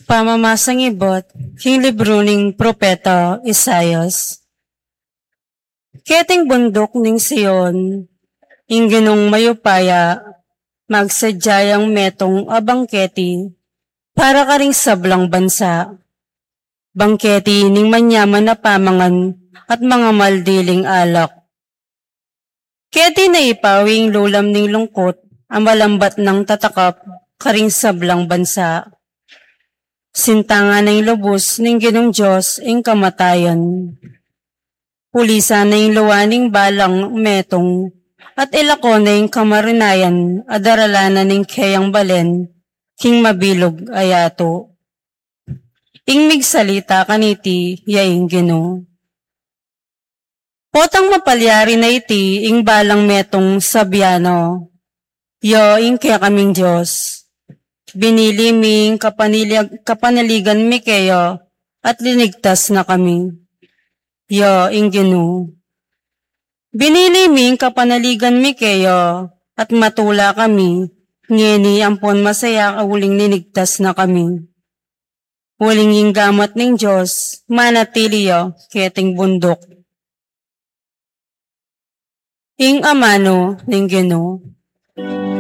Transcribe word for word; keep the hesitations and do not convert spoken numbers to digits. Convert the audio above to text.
Pamamasang ibat king libru ning propeta Isaias. Keting bunduk ning Sion, ing Ginung mayupaya, magsadya yang metung a bangketi para karing sablang bansa. Bangketi ning manyaman a pamangan at mangamal diling alak. Keti na ipawi ing lulam ning lungkut a malambat nang tatakap karing sablang bansa. Sintangan na ing lubus ning Ginung Dios ing kamatayan. Pulisan na ing luwa ning balang metung, at ilako na ing kamarinayan a daralanan ning keyang balen king mabilug a yatu. Ing migsalita kaniti ya ing Ginu. Potang mapalyari na iti ing balang metung sabian no, "Ya ing kekaming Dios. Binili mi ing kapanilyag-, kapanaligan mi keya at linigtas na kami." Ya ing Ginu. "Binili mi ing kapanaligan mi keya at matula kami, ngeni ampon masaya uling linigtas na kami." Uling ing gamat ning Dios manatili ya keting bunduk. Ing amanu ning Ginu.